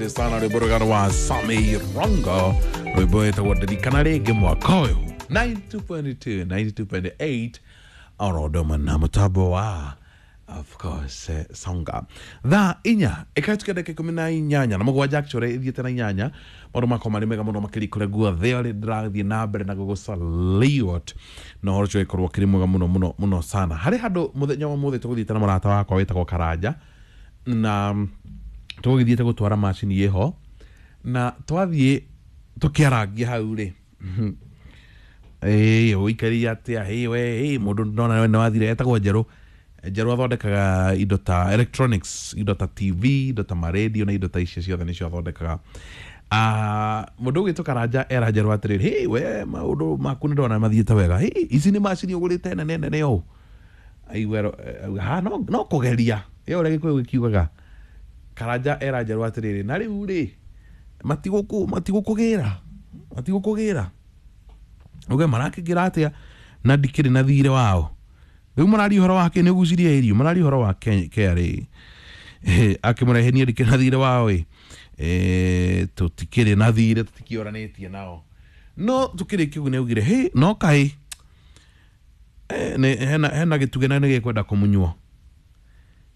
Sana rwĩmbo rwega rwa Sami Rongo, rwĩmbo wĩtagwo Ndirikana Rĩngĩ Mwaka Ũyũ. 92.2, 92.8 oro ũndũ ũmwe na mũtambo wa, of course, Songa. Thaa 4 ĩkahĩtũkia ndagĩka 18 na 7, actually ĩthiĩte na 8. Maũndũ makwa marĩ mega mũno makĩria kũrĩa guothe ũrĩ. Ndĩrathiĩ na mbere na gũgũsalute na ũhoro ũcio ũgĩkorwo ũkĩrĩ mwega mũno mũno mũno sana. Harĩ handũ mũthenya wa ũmũthĩ tũgũthiĩte na mũrata wakwa wĩtagwo Karanja, na tũgũgĩthiĩte gũtwara macini ĩho, na twathiĩ tũkĩarangia hau rĩ, ĩĩ, ũikaria atĩa? Ĩ we, ĩ mũndũ ndona nĩ wathire. Etagwo Njerũ. Njerũ athondekaga indo ta electronics, indo ta TV, indo ta maradio na indo ta icio ciothe nĩcio athondekaga. Ah, mũndũ ũgwĩtwo Karanja era Njerũ atĩrĩrĩ, "Hey, we maũndũ maku nĩ ndona mathiĩte wega. Hey, ici nĩ macini ũgũrĩte nene nene ũũ?" Aigua ha no kũgeria ĩ ũrĩa Gĩkũyũ gĩkiugaga. Karanja era Njerũ atĩrĩrĩ, "Na rĩu rĩ, matigũkũgĩra, matigũkũgĩra uge marakĩngĩra atĩa na ndikĩrĩ na thirĩ wao rĩu mararia ũhoro wake nĩ ũgucirie irio, mararia ũhoro wa KRA akĩmũrehe, niĩ ndikĩrĩ na thirĩ wao ĩ. Tũtikĩrĩ na thirĩ, tũtikĩoranĩtie nao." No tũkĩrĩkia ũguo nĩ augire, "Hĩ, no kaĩ hena gĩtugĩ na nĩ gĩkwenda kũmunywo."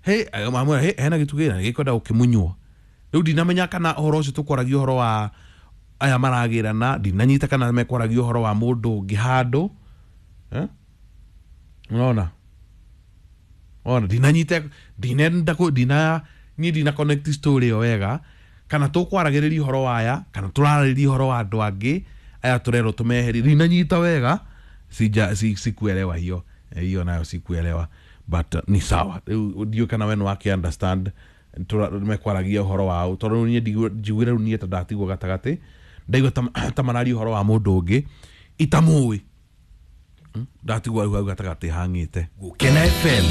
Hĩ, amwĩra, "Hĩ, hena gĩtugĩ na nĩ gĩkwenda gũkĩmunywo." Rĩu ndinamenya kana ũhoro ũcio tũkwaragia ũhoro wa aya maragĩrana, ndinanyita kana mekwaragia ũhoro wa mũndũ ũngĩ handũ, eh? Unaona, ona ndinanyita, ndinenda ndina niĩ ndina connect story ĩyo wega, kana tũkwaragĩrĩria ũhoro wa aya kana tũrarĩria ũhoro wa andũ angĩ aya tũrerwo tũmeherie. Ndinanyita wega, sija sikuelewa hiyo. Hiyo nayo sikuelewa, but ni sawa. Rĩu ndiũĩ kana we nĩ wake understand mekwaragia ũhoro wao, tondũ rĩu niĩ njiguire rĩu niĩ ta ndatigwo gatagatĩ, ndaigua ta mararia ũhoro wa mũndũ ũngĩ itamũĩ. Ndatigwo rĩu hau gatagatĩ hang'ĩte. Gukena FM.